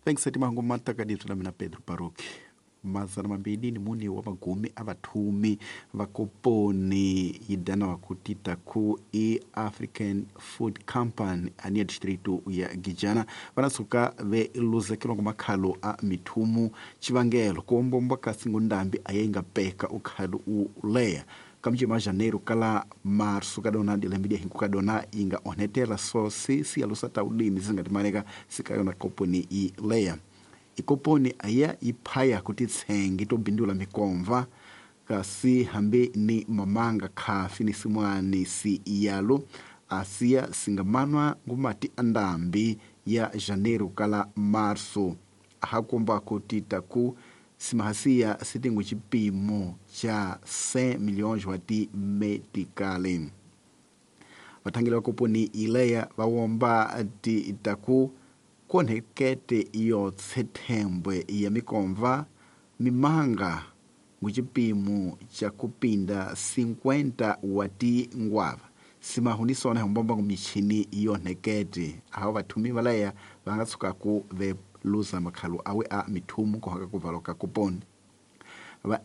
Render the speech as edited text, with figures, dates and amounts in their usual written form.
Vengisa timango matakadibyo na mina Pedro Baruki. 204 wa magumi a vathumi va koponi yi danawa ku tita ku i African Food Company aniya distrito ya Gijana va na suka ve luzekelwa ngo makhalo a mithumu chivangelo kuombomba kasi ngundambi a yi nga peka ukhalo u leya kamjima janeiro kala marso kadona dilembe dia hinku kadona inga onhetela so si siyalusa ta ulimi zingatimaleka sikayona koponi i leya ikoponi aya iphaya kuti tsengi tobindula mikomva kasi hambi ni mamanga khafi ni simwani si iyalo asiya singamanwa ngumati andambi ya janeiro kala marso ahakomba kuti taku simahasiya sitingu chipimo cha 100 milhões wa ti metikali. Vathangeli va koponi ileya va womba ti taku kuonhekete iyo tsethembwe ya mikomva mimanga nguchipimo cha kupinda 50 wa ti ngwava simahunisona hombomba michini yonhekete aho vathumi valaya va nga tshukaku ve luza makhalo awe a mithumu kuhaka kuvalwa ka koponi va.